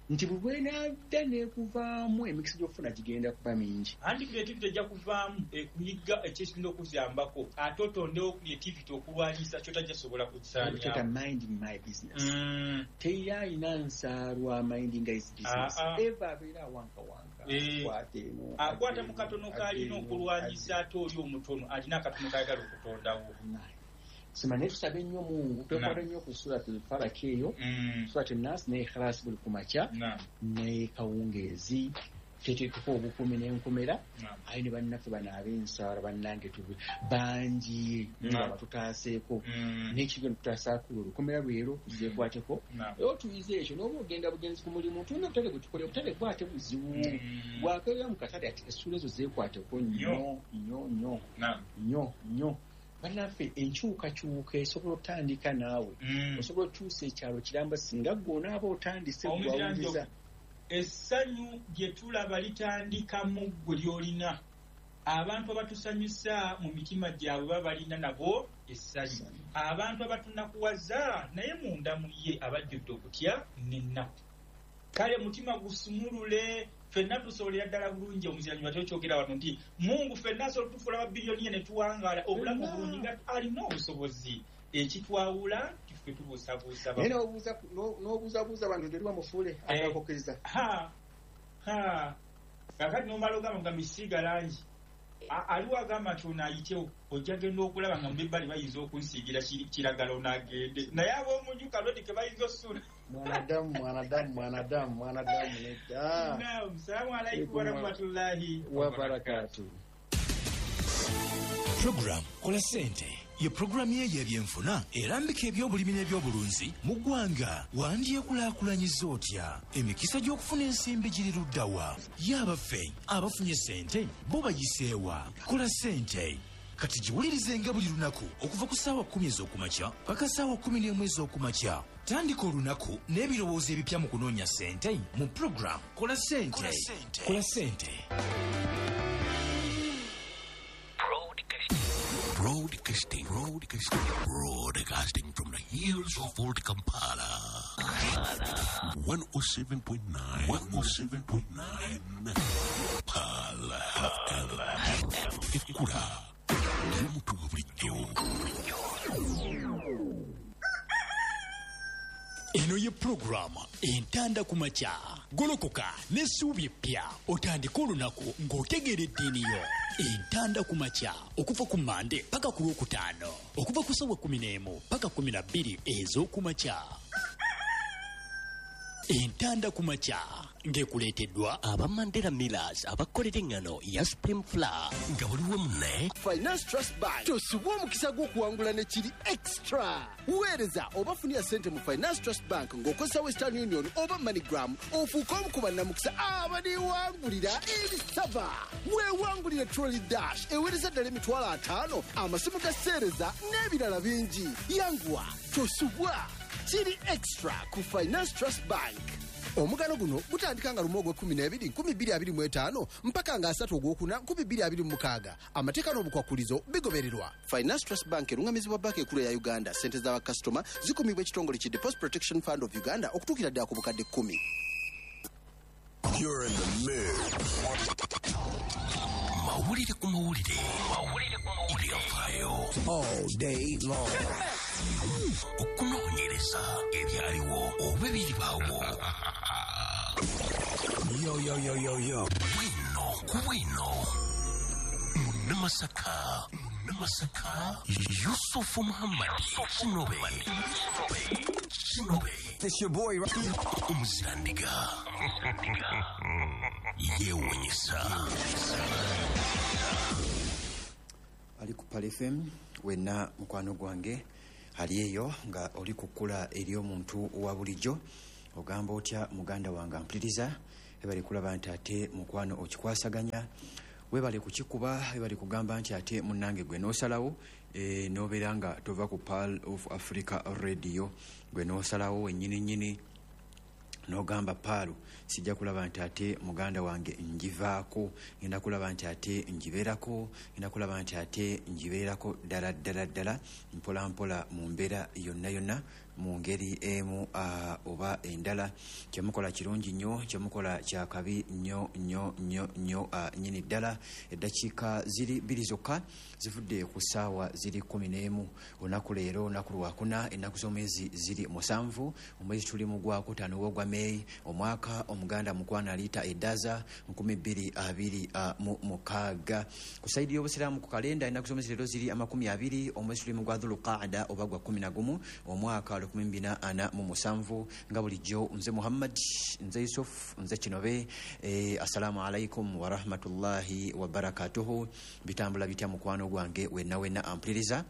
Nti bwe bwenadda n'ekuvaamu emikisa gy'okufuna gigenda kuba mingi. Anti creativity ejja kuvaamu ekuyiga ekyekirinda okuziyambako, ate otondewo creativity okulwanyisa ky'otajja sobola kukisaanyaawo. Minding my business. Mm. Teri alina nsaalwa minding his business. Eva abeera awankawanka. Akwata eno. Akwata mu katono k'alina okulwanyisa ate oli omutono alina akatono k'ayagala okutondawo. Sima ne tusabe nnyo Mungu, twekwata nnyo ku Suratul Falaq eyo, Suratul Nas ne Ikhlas buli ku makya, ne kawungeezi, teteekako obukumi n'enkomera, aye ne bannaffe bano ab'ensala bannange tube bangi nga batutaaseeko, n'ekigendo tutaasaako olukomera lwero tuzeekwateko, era otuyize ekyo n'oba ogenda bugenzi ku mulimu, tulina obutale bwe tukola, obutale bwate buzibu, bwakeera mu katale ati essuula ezo zeekwateko nnyo nnyo nnyo nnyo nnyo. Bannaffe enkyukakyuka esobola otandika naawe, osobola okyusa ekyalo kiramba singa ggwe onaaba otandise gwawuliza. Essanyu lye tulaba litandika mu ggwe ly'olina. Abantu abatusanyusa mu mitima gyabwe baba balina nabo essanyu. Abantu abatunakuwaza naye munda mu ye abajjudde okutya n'ennaku. Kale mutima gusumulule, ffenna tusobolera ddala bulungi. Omuziranyi watyo kyogera wano nti Mungu ffenna asobola otufuula babiliyoniya ne tuwangaala obulamu obulungi nga alina obusobozi. Ekitwawula tiffe tubuusabuusa. Naye n'obuuzabuuza abantu teri bamufuule akakukkiriza. Ha ha kakati n'omala ogamba nga misiiga langi aliwo agamba nti ono ayitewo ojja genda okulaba nga mu ebbali bayinza okunsiigira kiragala ono agende, naye ab'omunju kalodi ke bayinza osula. Mwanadamu mwanadamu mwanadamu mwanadamu nedda. Naam, salaamu alaykum warahmatullahi wabarakatuh. Program Kola Ssente ye programu ye y'ebyenfuna erambika ebyobulimi n'ebyobulunzi mu ggwanga. Wandyekulaakulanyiza otya? Emikisa gy'okufuna ensimbi giri ludda wa? Ye abaffe abafunye ssente bo bayiseewa? Kola Ssente kati giwulirizenga buli lunaku okuva ku ssaawa kkumi ez'okumakya paka ssaawa kkumi n'emu ez'okumakya. Tandika olunaku n'ebirowoozo ebipya mu kunoonya ssente mu program Kola Ssente. Kola Ssente. Broadcasting, broadcasting, broadcasting from the hills of Old Kampala. one oh seven point nine, one oh seven point nine. Pala F M. Ekura. Y'omuntu wa bulijjo. Eno ye pulogulaamu Entanda ku makya. Golokoka n'essuubi eppya otandike olunaku ng'otegeera eddiini yo. Entanda ku makya okuva ku Mmande paka ku Lwokutaano, okuva ku ssaawa kkumi n'emu paka kkumi na bbiri ez'okumakya. Entanda ku makya ng'ekuleeteddwa aba Mandela Millers abakolera eŋŋano ya Supreme Flour nga buli wamu ne Finance Trust Bank. Tosubwa omukisa gw'okuwangula ne kiri extra. Weereza oba funira ssente mu Finance Trust Bank ng'okozesa Western Union oba MoneyGram, ofuuke omu ku bannamukisa abaliwangulira ebisaba. Weewangulire Trolley Dash eweereza ddala emitwalo ataano, amasimu ga seereza n'ebirala bingi. Yanguwa, tosubwa. Kiri extra ku Finance Trust Bank. Omugano guno gutandika nga lumu ogw'ekkumi n'ebiri nkumi bbiri abiri mu etaano mpaka nga asatu ogwokuna nkumi bbiri abiri mu mukaaga. Amateeka n'obukwakulizo bigobererwa. Finance Trust Bank erungamizibwa banka enkulu eya Uganda. Ssente z'abakasitoma zikumibwa ekitongole ki Deposit Protection Fund of Uganda okutuukira ddala ku bukadde kkumi. You're in the mood. Mawulire ku mawulire. Mawulire ku mawulire. Ebyafaayo. All day long. Okunoonyereza ebyaliwo oba ebiribaawo. Yo, yo, yo, yo, yo. Bwino ku bwino. Munnamasaka. Munnamasaka. Yusufu Muhammad. Kinobe. Kinobe. It's your boy. Omuzirandiga. Yeewuunyisa. Ali ku Pal F M wenna mukwano gwange ali eyo nga oli kukula eri omuntu owa bulijjo, ogamba otya muganda wange ampuliriza, webale kulaba nti ate mukwano okikwasaganya, webale kukikuba, webale kugamba nti ate munnange gwe n'osalawo e, n'obeera nga tova ku Pearl of Africa Radio, gwe n'osalawo wennyini nnyini n'ogamba Paalu sijja kulaba nti ate muganda wange ngivaako, ngenda kulaba nti ate ngibeerako, ngenda kulaba nti ate ngibeerako ddala ddala ddala mpola mpola mu mbeera yonna yonna mu ngeri emu uh, oba endala. Kyemukola kirungi nnyo, kyemukola kyakabi nnyo nnyo nnyo nnyo uh, nnyini ddala. Eddakiika ziri bbiri zokka zivudde ku ssaawa ziri kkumi n'emu olunaku leero, olunaku lwakuna, ennaku z'omwezi ziri musanvu, omwezi tuli mu gwakutaano ogwa Meyi, omwaka omuganda mukwana aliita eddaza nkumi bbiri abiri mu mukaaga. Ku sayidi y'obusiraamu ku kalenda ennaku z'omwezi leero ziri amakumi abiri, omwezi tuli mu gwa Dhulqaada oba gwa kkumi na gumu, omwaka lukumi bina ana mu musanvu. Nga bulijjo nze Muhammad, nze Yusuf, nze Kinobe. Eh, assalamu alaikum warahmatullahi wabarakatuhu. Bitambula bitya mukwano gwange wenna wenna ampuliriza?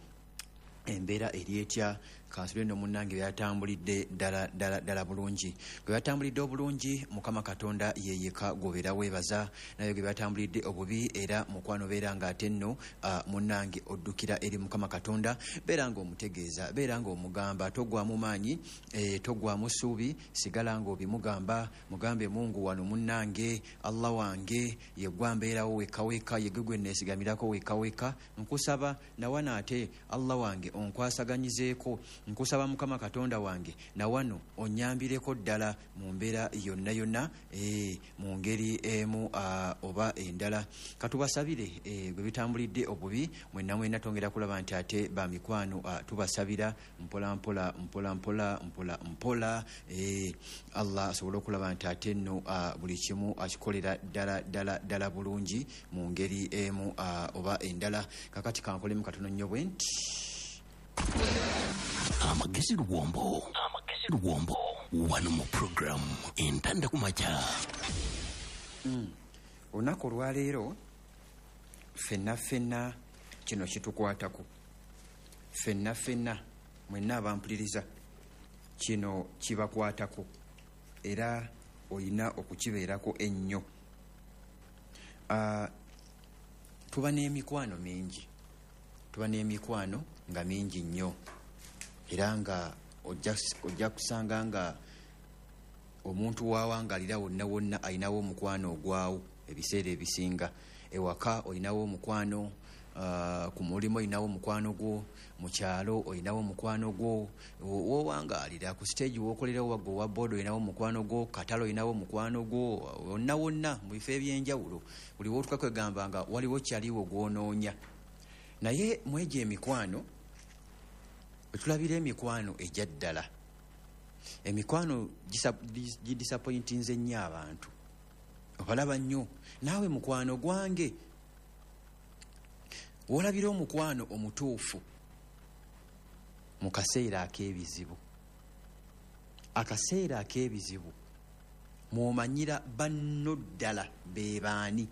Embeera eri etya? Kansule nno munnange byatambulidde ddala ddala ddala bulungi. Gwe byatambulidde obulungi, Mukama Katonda ye yekka gw'obeera weebaza, naye gwe byatambulidde obubi era mukwano beera ng'ate nno uh, munnange oddukira eri Mukama Katonda, beera ng'omutegeeza, beera ng'omugamba, toggwamu maanyi, eh, toggwamu ssuubi, sigala ng'obimugamba, mugambe Mungu wano munnange, Allah wange ye gwa mbeerawo wekka wekka, ye gwe gwe neesigamirako wekka wekka, nkusaba nawano ate Allah wange onkwasaganyizeeko, nkusaba Mukama Katonda wange nawano onyambireko ddala mu mbeera yonna yonna, e, mu ngeri emu uh, oba endala. Katubasabire e, gwe bitambulidde obubi mwenna mwenna, twongera kulaba nti ate ba mikwano uh, tubasabira mpola mpola mpola mpola mpola mpola, e, Allah asobole okulaba nti ate nno uh, buli kimu akikolera ddala ddala ddala bulungi mu ngeri emu uh, oba endala. Kakati kankolemu katono nnyo bwe nti Amagezi Luwombo, Amagezi Luwombo, wano mu program Entanda Kumakya. Mm. Olunaku olwaleero ffenna ffenna kino kitukwatako, ffenna ffenna mwenna abampuliriza kino kibakwatako era olina okukibeerako ennyo. Uh, tuba n'emikwano mingi, tuba n'emikwano nga mingi nnyo, era nga ojja kusanga nga omuntu wawangalira wonna wonna alinawo omukwano ogwawo ebiseera ebisinga. Ewaka olinawo omukwano, uh, ku mulimu olinawo omukwano gwo, mu kyalo olinawo omukwano gwo, wowangalira ku stage wokolerawo wagwe owa boda olinawo omukwano gwo, katale olinawo omukwano gwo, wonna wonna mu bifo ebyenjawulo buli wootuka kwegamba nga waliwo kyaliwo gw'onoonya. Naye mwegyo emikwano tulabira emikwano ejja ddala, emikwano gidisappointinze nnyo abantu, obalaba nnyo naawe mukwano gwange. Wolabira omukwano omutuufu mu kaseera ak'ebizibu, akaseera ak'ebizibu mw'omanyira banno ddala be baani,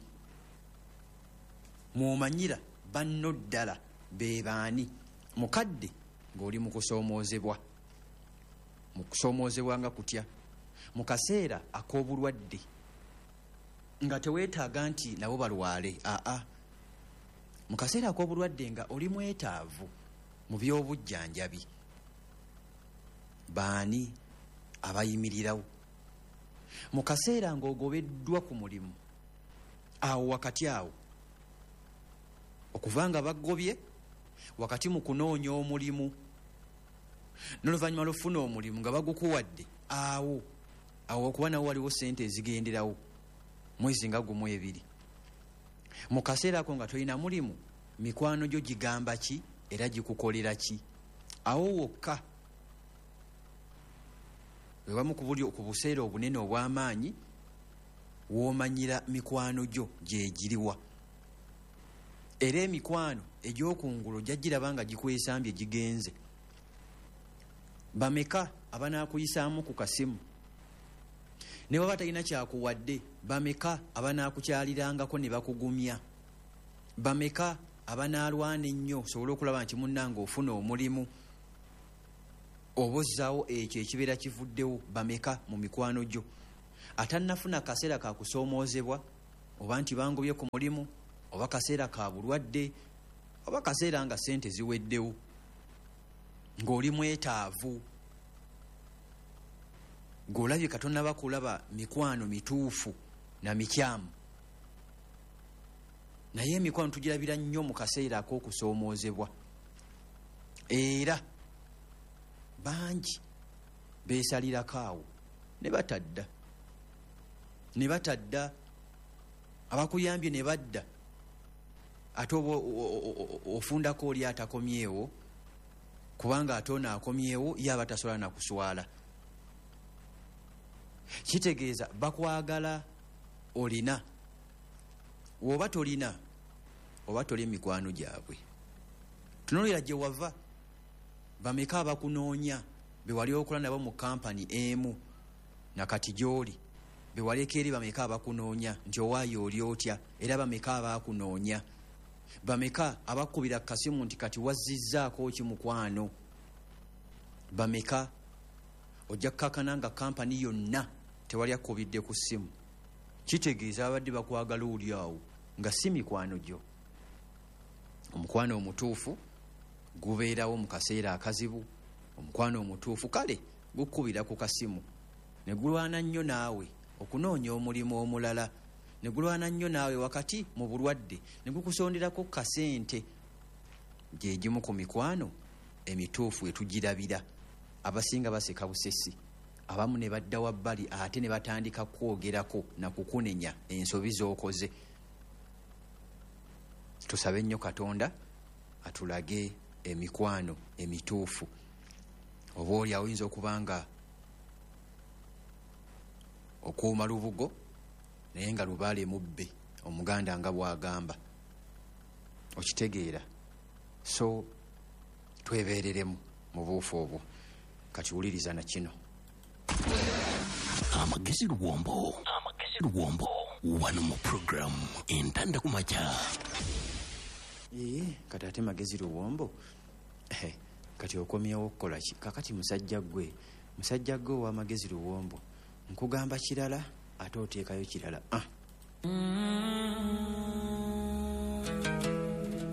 mw'omanyira banno ddala be baani. Mukadde ng'oli mu kusoomoozebwa, mu kusoomoozebwa nga kutya, mu kaseera ak'obulwadde nga teweetaaga nti nabo balwale, aa, mu kaseera ak'obulwadde nga oli mwetaavu mu by'obujjanjabi, baani abayimirirawo? Mu kaseera ng'ogobeddwa ku mulimu, awo wakati awo okuva nga bagobye wakati mu kunoonya omulimu, n'oluvannyuma lw'ofuna omulimu nga bagukuwadde, awo awo okuba nawo waliwo ssente ezigenderawo mwezi nga gumu ebiri. Mu kaseera ako nga tolina mulimu, mikwano gyo gigamba ki era gikukolera ki? Awo wokka wewamu ku buli ku buseera obunene obw'amaanyi w'omanyira mikwano gyo gye giriwa. Era emikwano egy'okungulu ojja nga gikwesambye gigenze. Bameka abanaakuyisaamu ku kasimu ne baba talina kyakuwadde? Bameka abanaakukyalirangako ne bakugumya? Bameka abanaalwana ennyo osobole okulaba nti munnange ofuna omulimu oba ozzaawo ekyo ekibeera kivuddewo? Bameka mu mikwano gyo atannafuna kaseera ka kusoomoozebwa, oba nti bangobye ku mulimu, oba kaseera ka bulwadde, oba kaseera nga ssente ziweddewo, ng'oli mwetaavu, ng'olabye Katonda bakulaba mikwano mituufu na mikyamu. Naye emikwano tugirabira nnyo mu kaseera ak'okusoomoozebwa, era bangi Beesalirako awo ne batadda, ne batadda, abakuyambye ne badda, ate oba ofundako oli atakomyewo, kubanga ate ono akomyewo ye aba tasobola na kuswala. Kitegeeza bakwagala olina, woba tolina oba toli mikwano gyabwe. Tunuulira gye wava, bameka abakunoonya be wali okola nabo mu kampani emu nakati gy'oli, be waleka eri bameka abakunoonya nti owaayo oli otya, era bameka abakunoonya, bameka abakubira kasimu nti kati wazzizzaako ki mukwano, bameka. Ojja kukakana nga kampani yonna tewali akubidde ku ssimu. Kitegeeza abadde bakwagala oli awo nga si mikwano gyo. Omukwano omutuufu gubeerawo mu kaseera akazibu. Omukwano omutuufu kale gukubira ku kasimu ne gulwana nnyo naawe okunoonya omulimu omulala, ne gulwana nnyo naawe wakati mu bulwadde, ne gukusonderako kasente. Gye gimu ku mikwano emituufu etugirabira. Abasinga baseka busesi, abamu ne badda wabbali ate ne batandika kwogerako na kukunenya ensobi z'okoze. Tusabe nnyo Katonda atulage emikwano emituufu. Oba oli awo oyinza okuba nga okuuma lubugo naye nga lubaale mubbe, Omuganda nga bw'agamba, okitegeera. So twebeereremu mu buufu obwo. Kati wuliriza na kino. Amagezi Luwombo, Amagezi Luwombo, wano mu program Entanda ku Makya. Ee, kati ate Magezi Luwombo, eh, kati okomyewo okukola ki? Kakati musajja ggwe, musajja ggwe ow'Amagezi Luwombo, nkugamba kirala ate oteekayo kirala. Ah.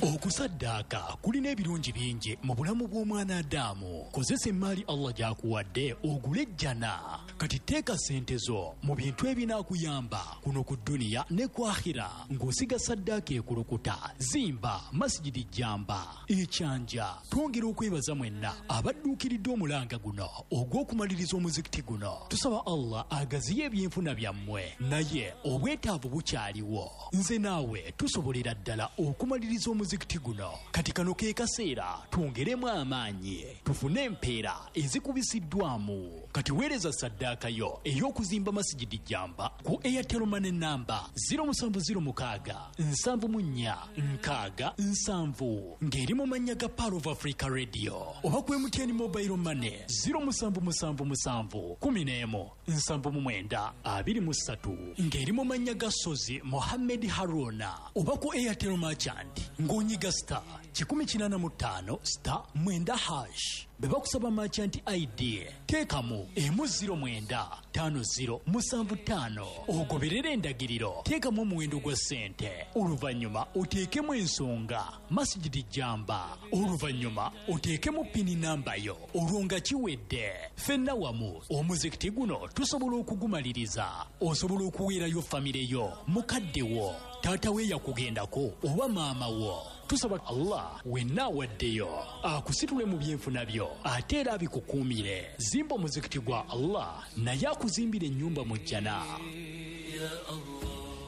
Okusaddaaka kulina ebirungi bingi mu bulamu bw'omwana Adamu. Kozesa emmaali Allah gy'akuwadde ogule ejjana. Kati teeka ssente zo mu bintu ebinaakuyamba kuno ku dduniya ne ku akhira, ng'osiga saddaaka ekulukuta, zimba masigidi jjamba ekyanja. Twongera okwebaza mwenna abadduukiridde omulanga guno ogw'okumaliriza omuzikiti guno. Tusaba Allah agaziye ebyenfuna byammwe, naye obwetaavu bukyaliwo. Nze naawe tusobolera ddala okumaliriza omuzikiti guno. Kati kano ke kaseera twongeremu amaanyi, tufune empeera ezikubisiddwamu. Kati weereza saddaaka yo ey'okuzimba masigidi jjamba ku Airtel Money namba zero musanvu zero mukaaga nsanvu mu nnya nkaaga nsanvu ng'eri mu mannya ga Pearl of Africa Radio, oba ku M T N Mobile Money zero musanvu musanvu musanvu kumi n'emu nsanvu mu mwenda abiri mu ssatu ng'eri mu mannya ga Sozi Mohammed Haruna, oba ku Airtel Merchant ng'onyiga star kikumi kinaana mu ttaano star mwenda hash. Bwe bakusaba merchant I D teekamu emu zero mwenda ttaano zero musanvu ttaano, ogoberere endagiriro, teekamu omuwendo gwa ssente, oluvannyuma oteekemu ensonga masigidi jjamba, oluvannyuma oteekemu pini namba yo, olwo nga kiwedde. Ffenna wamu omuzikiti guno tusobola okugumaliriza. Osobola okuweerayo famire yo, mukadde wo, taata we yakugendako oba maama wo. Tusaba Allah wenna awaddeyo akusitule mu byenfuna byo ate era abikukuumire. Zimba omuzikiti gwa Allah naye akuzimbira ennyumba mu jjana.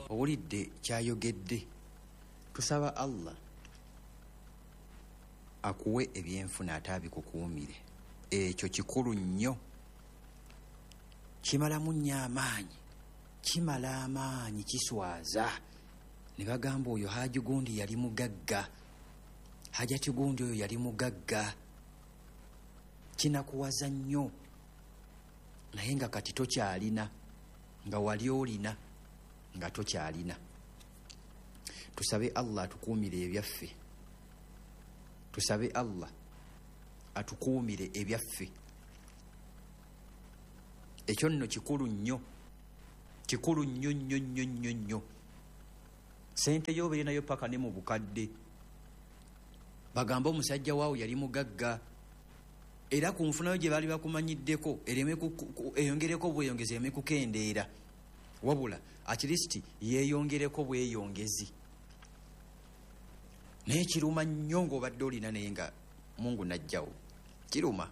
Owulidde kyayogedde. Tusaba Allah akuwe ebyenfuna ate abikukuumire. Ekyo kikulu nnyo, kimalamu nnyo amaanyi, kimala amaanyi, kiswaza. Ne bagamba oyo Haji gundi yali mugagga, Hajati gundi oyo yali mugagga. Kinakuwaza nnyo, naye nga kati tokyalina, nga wali olina nga tokyalina. Tusabe Allah atukuumire ebyaffe, tusabe Allah atukuumire ebyaffe. Ekyo nno kikulu nnyo, kikulu nnyo nnyo nnyo nnyo nnyo. Sente yo obeere nayo paka ne mu bukadde. Bagamba omusajja waawo yali mugagga, era ku nfunayo gye baali bakumanyiddeko ereme eyongereko bweyongezi, ereme kukendeera, wabula at least yeeyongereko bweyongezi. Naye kiruma nnyo ng'obadde olina naye nga Mungu najjawo, kiruma.